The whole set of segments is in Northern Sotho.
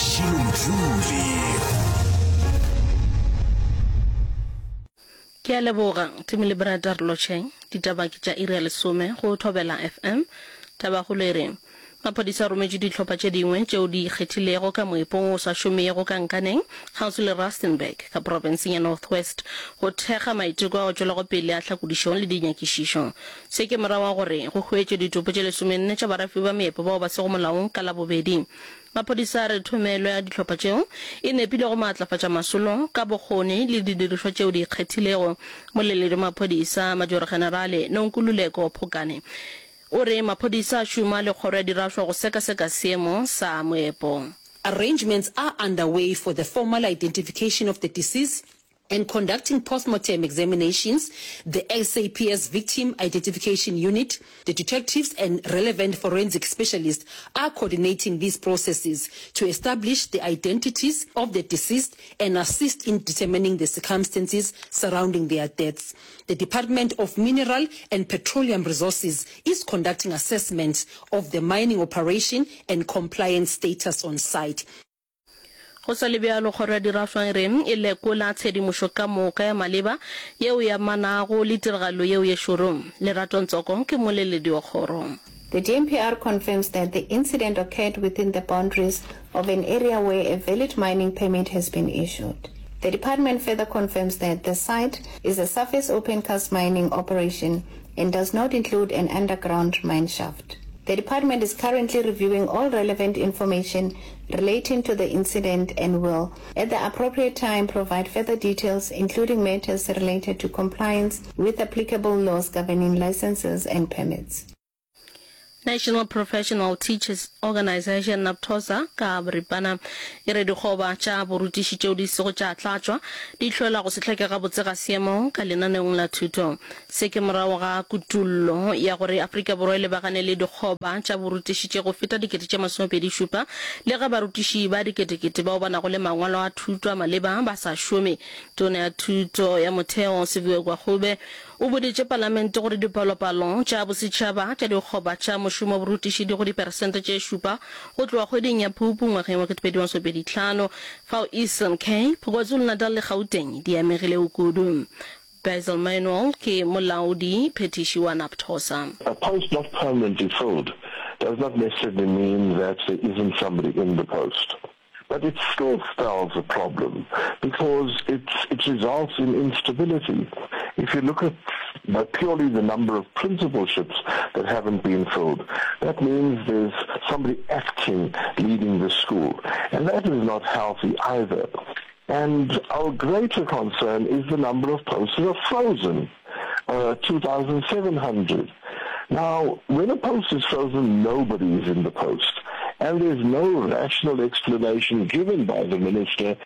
Mashilo Mdluli. Ke a leboga, Timi le Brenda re lotšheng. Ditaba ke tša iri ya lesome go Thobela FM. Tabakgolo e re, Maphodisa a rometše dihlopha tše dingwe tšeo di ikgethilego ka moepong wo o sa šomego ka Nkaneng kgauswi le Rustenburg ka profenseng ya North West go thekga maiteko ao a tšwelago pele a tlhakodišo le dinyakišišo. Se ke morago ga gore go hwetšwe ditopo tše lesomenne tša barafi ba meepo bao ba sego molaong ka Labobedi. Maphodisa a re thomelo ya dihlopha tšeo e nepile go maatlafatša masolo ka bokgoni le didirišwa tšeo di ikgethilego. Moleledi wa maphodisa, Majoro-Generale Nonkululeko Phokane, o re maphodisa a šoma le kgoro ya dirašwa go sekaseka seemo sa moepo. Arrangements are underway for the formal identification of the deceased and conducting postmortem examinations, the SAPS Victim Identification Unit, the detectives and relevant forensic specialists are coordinating these processes to establish the identities of the deceased and assist in determining the circumstances surrounding their deaths. The Department of Mineral and Petroleum Resources is conducting assessments of the mining operation and compliance status on site. Go sa le bjalo, Kgoro ya Dirafša e re e lekola tshedimošo ka moka ya maleba yeo e amanago le tiragalo yeo ye šoro. Lerato Ntsoko ke mmoleledi wa kgoro. The DMPR confirms that the incident occurred within the boundaries of an area where a valid mining permit has been issued. The department further confirms that the site is a surface opencast mining operation and does not include an underground mine shaft. The department is currently reviewing all relevant information relating to the incident and will, at the appropriate time, provide further details, including matters related to compliance with applicable laws governing licenses and permits. National Professional Teachers Organisation, NAPTOSA, ka boripana e re dikgoba tša borutiši tšeo di sego tša tlatšwa di hlola go se hlweke gabotse ga seemo ka lenaneong la thuto. Se ke morago ga kutollo ya gore Afrika Borwa e lebagane le dikgoba tša borutiši tše go feta 27,000 le ge barutiši ba diketekete bao ba nago le mangwalo a thuto a maleba ba sa šome. Tona ya Thuto ya Motheo, Siviwe Gwarube, o boditše Palamente gore dipalopalo tša bosetšhaba tša dikgoba tša mošomo wa borutiši di go diperesente tše šupa go tloga kgweding ya Phupu ngwageng wa 2025, fao Eastern Cape, KwaZulu-Natal le Gauteng di amegilego kudu. Basil Manuel ke molaodi phethiši wa NAPTOSA. A post not permanently filled does not necessarily mean that there isn't somebody in the post. But it still spells a problem because it, it results in instability. If you look at by purely the number of principalships that haven't been filled, that means there's somebody acting leading the school. And that is not healthy either. And our greater concern is the number of posts that are frozen, uh, 2,700. Now, when a post is frozen, nobody is in the post. And there's no rational explanation given by the minister.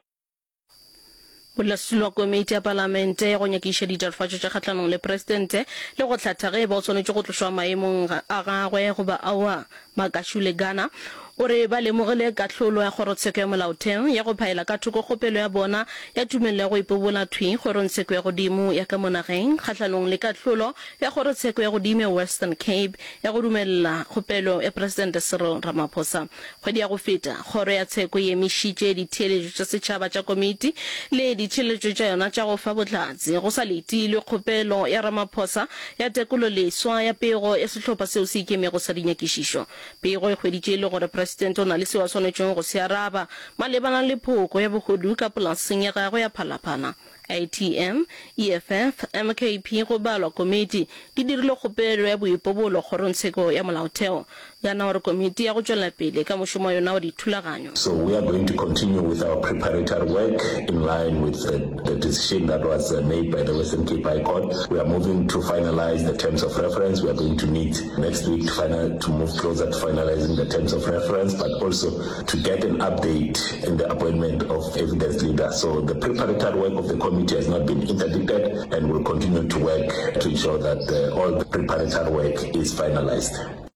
Modulasetulo wa komiti ya palamente ya go nyakiša ditatofatšo tša kgahlanong le presidente le go hlatha ge e ba o swanetše go tlošwa maemong a gagwe goba aowa, Makashule Gana, o re ba lemogile kahlolo ya kgorotsheko ya molaotheo ya go phaela ka thoko kgopelo ya bona ya tumelelo ya go ipobola thwi kgorongtsheko ya godimo ya ka mo nageng kgahlanong le kahlolo ya kgorotsheko ya godimo ya Western Cape ya go dumelela kgopelo ya Presidente Cyril Ramaphosa. Kgwedi ya go feta, kgoro ya tsheko e emišitše ditheeletšo tša setšhaba tša komiti le ditheeletšo tša yona tša go fa bohlatse go sa letilwe kgopelo ya Ramaphosa ya tekololeswa ya pego ya sehlopha seo se ikemego sa dinyakišišo. Pego e hweditše e le gore Presidente o na le seo a swanetšego go se araba malebana le phoko ya bohodu ka polaseng ya gagwe ya Phalaphala. ATM, EFF, MKP go balwa komiti di dirile kgopelo ya boipobolo kgorongtsheko ya molaotheo. Gana gore komiti ya go tšwela pele ka mošomo wa yona wa dithulaganyo. So we are going to continue with our preparatory work in line with the decision that was made by the Western Cape High Court. We are moving to finalize the terms of reference. We are going to meet next week to final, to move closer to finalizing the terms of reference, but also to get an update in the appointment of evidence leader. So the preparatory work of the committee has not been interdicted and will continue to work to ensure that uh, all the preparatory work is finalized.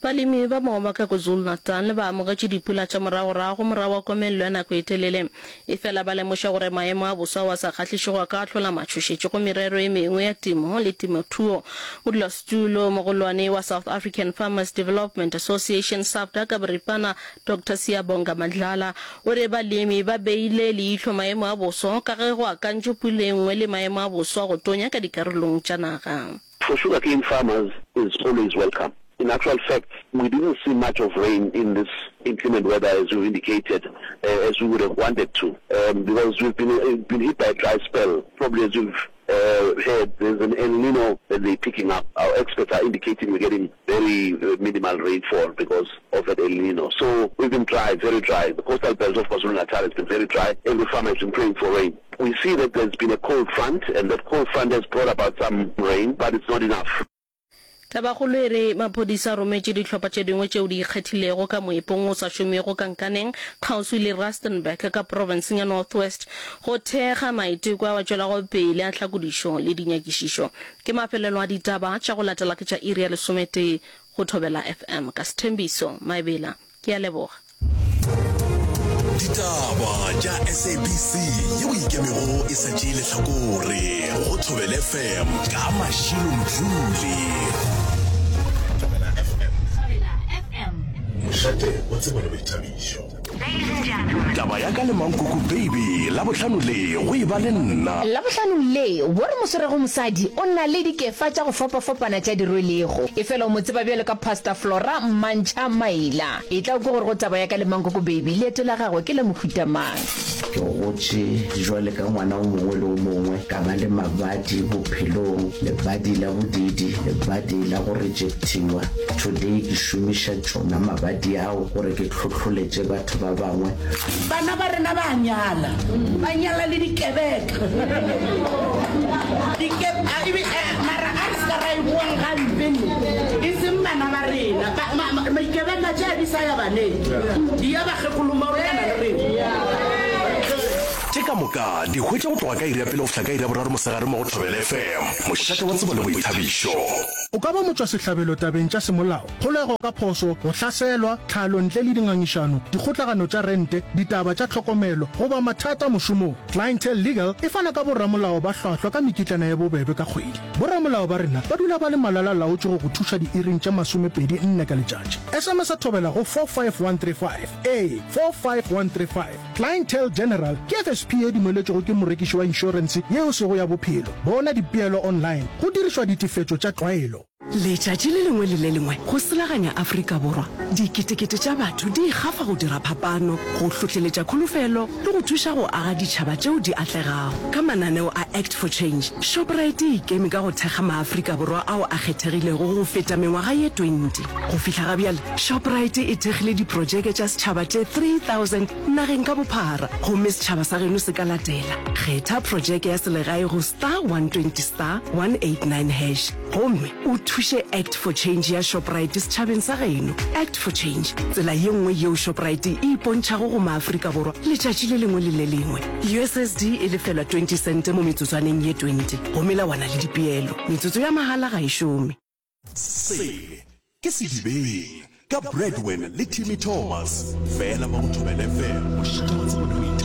Balemi ba moba ka KwaZulu-Natal ba amogetše dipula tša moragorago morago ga komelelo ya nako e telele. Efela ba lemoša gore maemo a boso ao a sa kgahlišego a ka hlola matšhošetši go merero e mengwe ya temo le temothuo. Modulasetulo mogolwane wa South African Farmers Development Association, SAFDA, ka boripana, Doctor Siyabonga Madlala, o re balemi ba beile leihlo maemo a boso ka ge go akantšwe pula e nngwe le maemo a boso a go tonya ka dikarolong tša naga. For sugarcane farmers is always welcome. In actual fact, we didn't see much of rain in this inclement weather as you've indicated, uh, as we would have wanted to, um, because we've been, uh, been hit by a dry spell. Probably as you've uh, heard, there's an El Nino that they're picking up. Our experts are indicating we're getting very uh, minimal rainfall because of that El Nino. So we've been dry, very dry. The coastal belt of KwaZulu-Natal has been very dry. Every farmer has been praying for rain. We see that there's been a cold front and that cold front has brought about some rain, but it's not enough. Tabakgolo e re maphodisa a rometše dihlopha tše dingwe tšeo di ikgethilego ka moepong o sa šomego ka Nkaneng kgauswi le Rustenburg ka profenseng ya North West go thekga maiteko ao a tšwelago pele a tlhakodišo le dinyakišišo. Ke mafelelo a ditaba tša go latela ke tša iri ya lesometee go Thobela FM ka Sthembiso Maebela. Ke a leboga. Ditaba tša SABC yeo ikemego e sa tšee lehlakore go Thobela FM ka Mashilo Mdluli. Thobela FM. Mošate wa tsebo le boithabišo. Taba ya ka le Mankoko Baby Labohlano le go e ba le nna. Labohlano le, wo re mo swerego mosadi o na le dikefa tša go fapafapana tša di rwelego. Efela o mo tseba bjalo ka Pastor Flora Mmantšha Maila. Etla o kwe gore go taba ya ka le Mankoko Baby leeto la gagwe ke la mohuta mang. Ke gotše jwale ka ngwana o mongwe le o mongwe, ka ba le mabadi bophelong, lebadi la bodiidi, lebadi la go rejectiwa. Today ke šomiša tšona mabadi ao gore ke hlohloletše batho ba bangwe. Bana ba rena ba a nyala, ba nyala le dikebeka. Dike, a, ebe, a, mara a re se ka ra e boang gampe ne, e seng bana ba rena. Ba, ma, ma, dikebeka tše a di sa ya baneng, di ya bakgekolong ba go lekana le rena. Tše ka moka di hwetša go tloga ka iri ya pele go fihla ka iri ya boraro mosegare mo go Thobela FM, mošate wa tsebo le boithabišo. O ka ba motšwasehlabelo tabeng tša semolao, kgolego ka phošo, go hlaselwa, tlhalo ntle le dingangišano, dikgotlagano tša rente, ditaba tša tlhokomelo, goba mathata mošomong. Clientele Legal e fana ka boramolao ba hlwahlwa ka mekitlana ye bobebe ka kgwedi. Boramolao ba rena ba dula ba le malala-laotšwe go go thuša diiring tše 24 ka letšatši. SMS-a Thobela go 45135. Ee, 45135. Clientele General ke FSP ye dumeletšwego ke morekiši wa inšorense ye e sego ya bophelo. Bona dipeelo online go dirišwa ditefetšo tša tlwaelo. Letšatši le lengwe le le lengwe go selaganya Afrika Borwa, diketekete tša batho di ikgafa go dira phapano, go hlohleletša kholofelo le go thuša go aga ditšhaba tšeo di atlegago. Ka mananeo a Act for Change, Shoprite e ikeme ka go thekga maAfrika Borwa ao a kgethegilego go feta mengwaga ye 20. Go fihla ga bjale, Shoprite e thekgile diprojeke tša setšhaba tše 3000 nageng ka bophara gomme setšhaba sa geno se ka latela. Kgetha projeke ya selegae go star 120 star 189 hash. Gomme o thuše Act for Change ya Shoprite setšhabeng sa geno. Act for Change, tsela ye nngwe yeo Shoprite e ipontšhago go maAfrika Borwa letšatši le lengwe le le lengwe. USSD e lefelwa 20 sente mo metsotswaneng ye 20 go melawana le dipeelo. Metsotso ya mahala ga e šome. Se ke Sedibeng ka Bradwin le Timmy Thomas, fela mo go Thobela FM, mošate wa tsebo le boithabišo.